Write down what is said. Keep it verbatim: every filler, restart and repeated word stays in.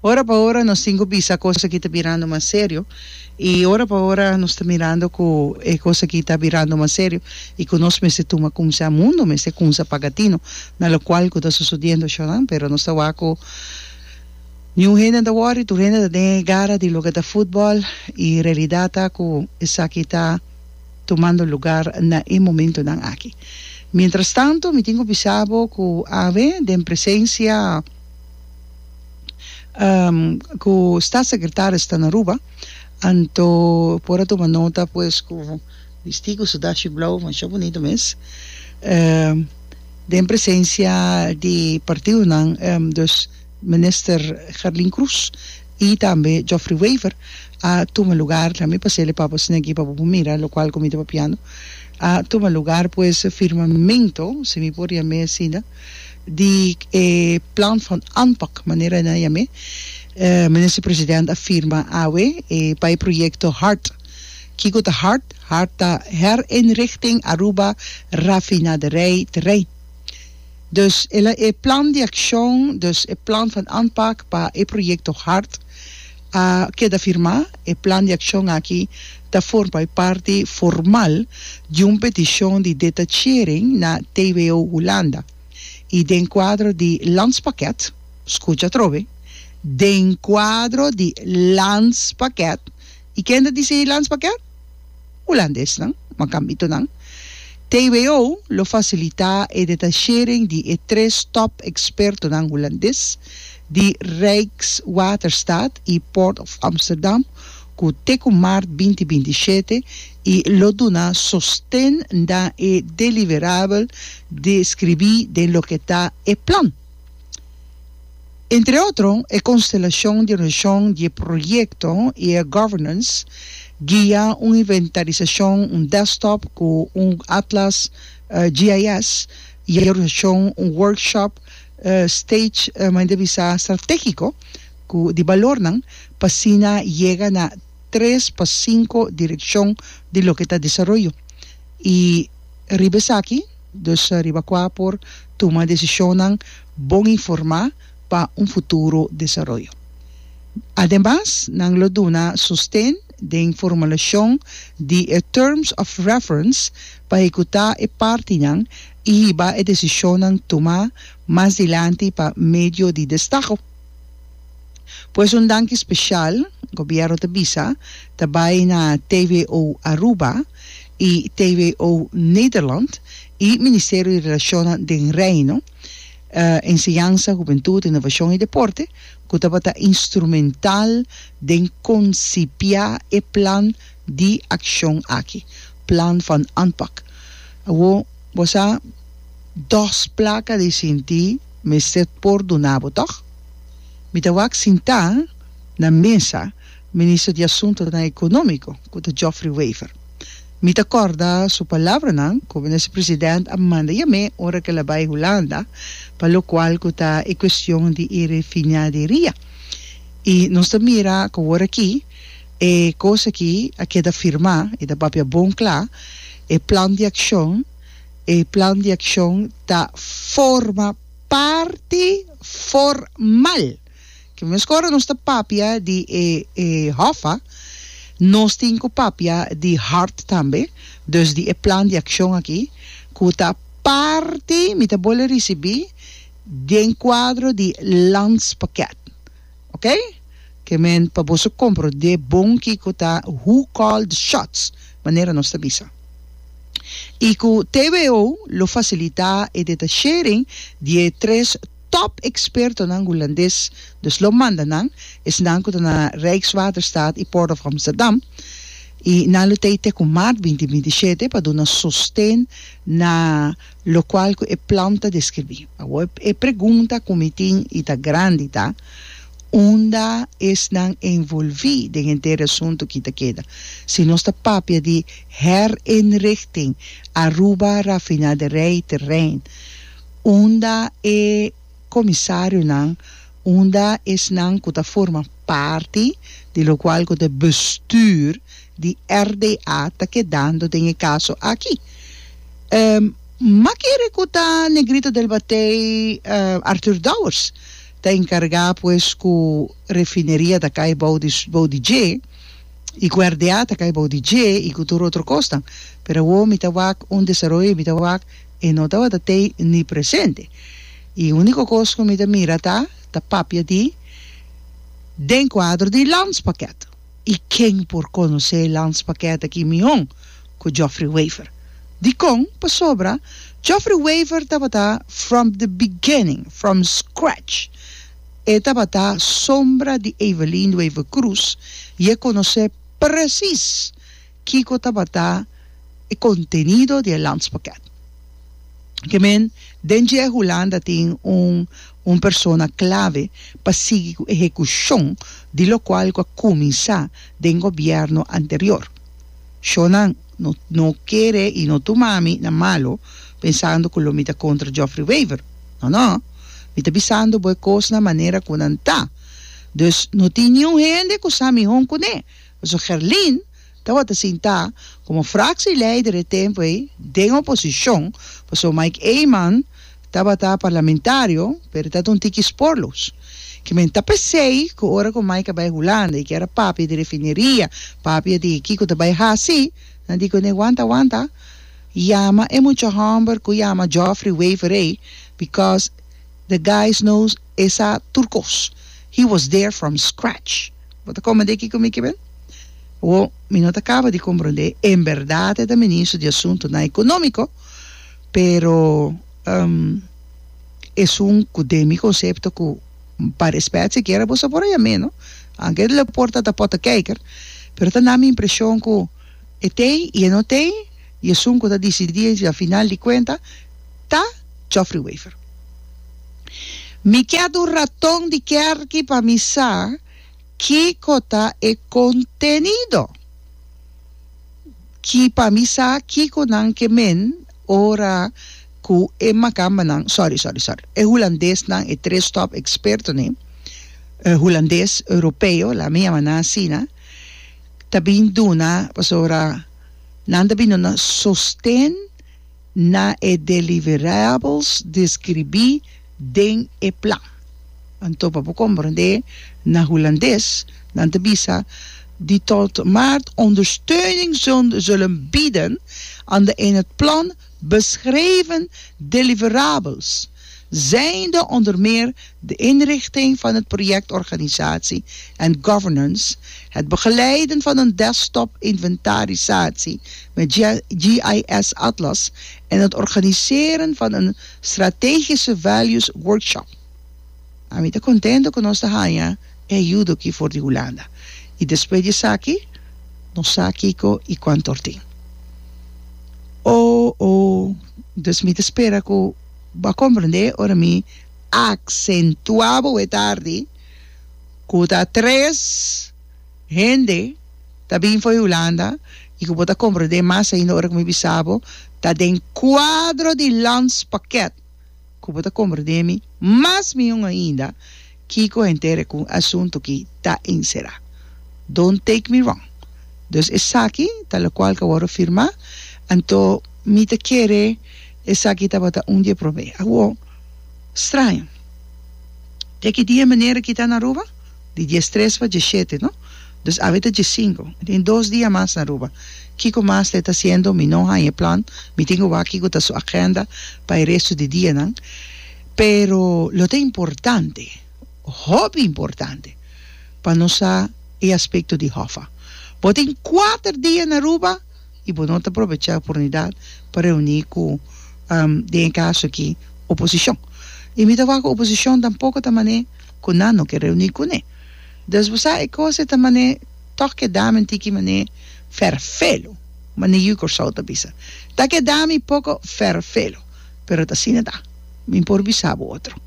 Ora pa ora nos tin ku bisa kos aki ta birando mas serio i ora pa ora nos ta mirando ku e kos aki ta birando mas serio i ku nos mester tuma kumsa mundu mester kumsa paga tino na lokual ku ta sosodiendo shonan pero nos ta wak ku niun hende ta wòri tur hende ta den e gara di loke ta futbòl i realidat ta ku esaki ta tumando lugar na e momentonan aki. Mientras tanto mi tin ku bisa bo ku awe den presensia Cu Staatssecretaris ta na Aruba, anto por a tuma nota pues cu bisti cu su dashi blauw masha bunito mes, den presencia di partidonan, dus Minister Gerlin Cruz y tambe Geoffrey Wever a tuma lugar, tambe pasele pa bo asina aki pa bo por mira locual cu mi ta papiando, a tuma lugar pues firmamento, si mi por yam'e asina, di e plan van aanpak, manera nan yam'é, Minister President a firma awe e pa e proyekto hart. Kiko ta hart? Hart ta Herinrichting Aruba Raffinaderij Terrein. Dus el a e plan di akshon, dus e plan van aanpak pa e proyekto hart a keda firmá. E plan di akshon aki ta forma e parti formal di un petishon di detachering na T W O Hulanda. I den kuadro di Landspakket, skucha atrobe, den kuadro di Landspakket, i ken ta disei Landspakket? Hulandesnan, makambitonan. T W O lo fasilitá e detachering di e tres top ekspertonan hulandes di Rijkswaterstaat i Port of Amsterdam ku te ku mart binti binti shete i lo duna sosten na e deliverabel deskribí den loke ta e plan. Entre otro, e konstelashon di organisashon di e proyekto i e governance guia un inventarisashon, un desktop ku un atlas G I S i e organisashon un workshop stage manera bisa stratégiko ku di balornan pa asina yega na tres pa sinku direkshon di loke ta desaroyo i riba esaki, dus riba kua por tuma desishonnan bon informá pa un futuro desaroyo. Ademas, nan lo duna sosten den formulashon di e Terms of Reference pa ehekutá e partinan i hiba e desishonnan tumá mas dilanti pa medio di destaho. Pues un danki special, Gobierno ta bisa, ta bay na T W O Aruba y T W O Nederland y Ministerio di Relacionnan den Reino, Enseñansa, Hubentud, Innovacion y Deporte, cu tabata instrumental den concipia e plan di accion aki, Plan van Aanpak. Awo, bo sa, dos placa di sinti mester por duna bo, toch? Mi ta wak sintá na mesa Minister di Asuntonan Ekonómiko, ku ta Geoffrey Wever. Mi ta kòrda su palabranan ku Minister President a manda yam'é ora ku el a bai Hulanda pa lokual ku ta e kuestion di e refinaderia. I nos ta mira ku awor aki e kos aki a keda firmá, e ta papia bon kla, e plan di akshon, e plan di akshon ta forma parti formal. Ke meskor nos ta papia di e, e Hoffa, nos tin ku papia di hart tambe, dus di e plan di akshon aki, ku ta parti, mi ta bole risibí den kuadro di landspakket. Ok? Ke men pa boso komprondé bon kiko ta who call the shots, manera nos ta bisa. I ku T W O lo fasilitá e detachering di e tres top ekspertonan hulandes, dus lo manda nan, esnan ku ta na Rijkswaterstaat i Port of Amsterdam, i nan lo tei te ku mart binti binti shete pa duna sosten na lokual ku e plan ta deskribí. Awor e pregunta ku mi tin i ta grandi ta, unda esnan envolví den henter e asuntu ki ta keda? Si nos ta papia di herinrichting Aruba Raffinaderij Terrein, unda e komisarionan, unda esnan ku ta forma parti di lokual ku ta bestuur di R D A ta kedando den e kaso aki? Ma kere ku ta Negrito del Batey, Arthur Dowers. Ta enkargá pues ku refineria ta kai bou di bou di dje i ku R D A ta kai bou di dje i ku tur otro kosnan. Pero awor mi ta wak un desaroyo i mi ta wak e no tabata tei ni presente. I úniko kos ku mi ta mira ta ta papia di den kuadro di landspakket. I ken por konosé landspakket aki mihó ku Geoffrey Wever? Dikon? Pasobra Geoffrey Wever tabata from the beginning, from scratch. E tabata sombra di Evelyn Wever Croes i e konosé precies kiko tabata e kontenido di e landspakket. Ke men, den dje Hulanda tin un un persona klave pa sigui ku ehekushon di lokual ku a kuminsá den gobièrnu anterior. Shonnan, no no kere i no tuma mi na malu pensando ku lo mi ta kontra Geoffrey Wever. No no, mi ta bisando bo e kos na manera ku nan ta. Dus no tin niun hende ku sa mihó kuné. Pasobra Gerlin tabata sintá komo fractieleider e tempu ei den oposishon, pasobra Mike Eman tabata parlamentario, pero ta un tiki spoorloos. Ke men ta p'esei ku ora ku Mike a bai Hulanda i kier a papia di refineria, papia di kiko ta bai hasi, nan di kuné: "Wanta, wanta, yama e mucha hòmber ku yama Geoffrey Wever ei, because the guys knows e sa tur kos. He was there from scratch." Bo ta komprendé kiko mi ke men? O mi no ta kaba di komprendé, en bèrdat e ta ministro di asuntunan ekonómiko, pero um, esun ku den mi konsepto ku pa respet sikiera boso por a yam'é, no? Aunke el por ta ta pottenkijker, pero ta na mi impreshon ku e t'ei i e no t'ei, i esun ku ta disidí a final di kuenta ta Geoffrey Wever. Mi kier un raton di kerki pa mi sa kiko ta e kontenido. Ki pa mi sa kiko nan ke men ora ku e makambanan, sorry, sorry, sorry, e hulandesnan, e tres top ekspertonan, eh, hulandes europeo, laga mi yama nan asina, ta bin duna, pasobra nan ta bin duna sosten na e deliverables deskribí den e plan. Anto pa bo komprendé na hulandes, nan ta bisa die tot maart ondersteuning zullen bieden aan de in het plan beschreven deliverables, zijnde onder meer de inrichting van het projectorganisatie en governance, het begeleiden van een desktop inventarisatie met G I S Atlas en het organiseren van een strategische values workshop. Ami ta kontentu ku nos ta haña e ayudo aki for di Hulanda. I despues di esaki, nos sa kiko i kuantu or tin. Oh, oh, dus mi ta spera ku bo a komprendé ora mi aksentuá bo e tardi ku ta tres hende ta bin for di Hulanda i ku bo ta komprendé mas ainda ora ku mi bisa bo ta den kuadro di landspakket ku bo ta komprendé mi mas mihó ainda kiko henter ku asuntu ki ta enserá. Don't take me wrong. Dus esaki ta lokual ku a wòrdu firmá, anto mi ta kere esaki tabata un di e promé. Awor, straño. Te ki dia meneer aki ta na Aruba? Di diestres pa diesshete, no? Dus awe ta diesinku. Tin dos dia mas na Aruba. Kiko mas e ta hasiendo? Mi no haña e plan. Mi tin ku wak kiko ta su agenda pa e resto di dianan. Pero lo ta importante, hopi importante, pa nos sa e aspekto di Hoffa. Bo tin kuater dia na Aruba i bo no ta aprovechá e oportunidat pa reuní ku, den e kaso aki, oposishon. I mi ta wak ku oposishon tampoko ta manera ku nan no ke reuní kuné. Dus bo sa e kos e ta manera tòg keda mi un tiki manera fèrfelu, manera yu Kòrsou ta bisa. Ta keda mi poko fèrfelu, pero ta asina ta. Mi por bisa bo otro.